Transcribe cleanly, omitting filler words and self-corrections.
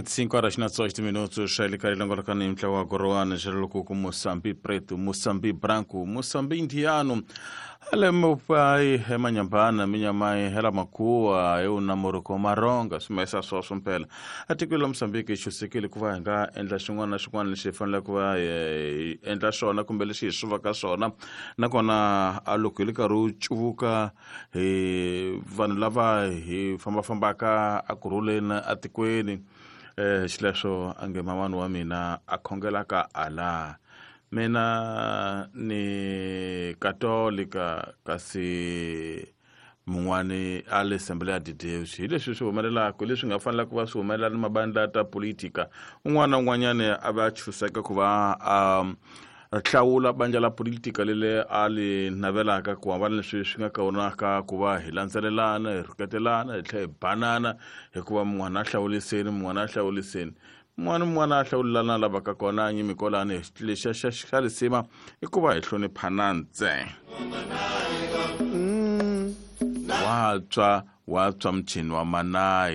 5 horas na 18 minutos xalikali langolakani mtla wa korowani xaloko ku Moçambique preto, Moçambique branco, Moçambique indiano ale mupai emanyambana minyamai hela makuwa eu namoro maronga swimesa swoswo mpela atikweni la Mozambique xusekile ku va hi nga endla xin'wana na xin'wana lexi hi faneleke ku va hi endla xona kumbe lexi hi swi vaka swona nakona a loko hi le karhi u cuvuka hi vanhu lava hi fambafambaka a kurhuleni atikweni xileswo a nge mamani wa mina a khongelaka ala mina ni katolika kasi mun'wani a le Assembly ya de Deus hi leswi swi humelelaka leswi nga fanela ku va swi humelela ni mabandla ta politika un'wana na un'wanyani a va chuseka ku va a hlawula bandla la politika lele a li navelaka ku hambana leswi swi nga kaonaka ku va hi landzelelana hi rhuketelana hi tlhela hi banana hikuva mun'wana a hlawuliseni mun'wana a hlawuliseni mun'wana mun'wana a hlawulelana lavaka kona nyimikolani lexa xa lisima i ku va hi hloniphana ntse wa tswa muchini wa manayi.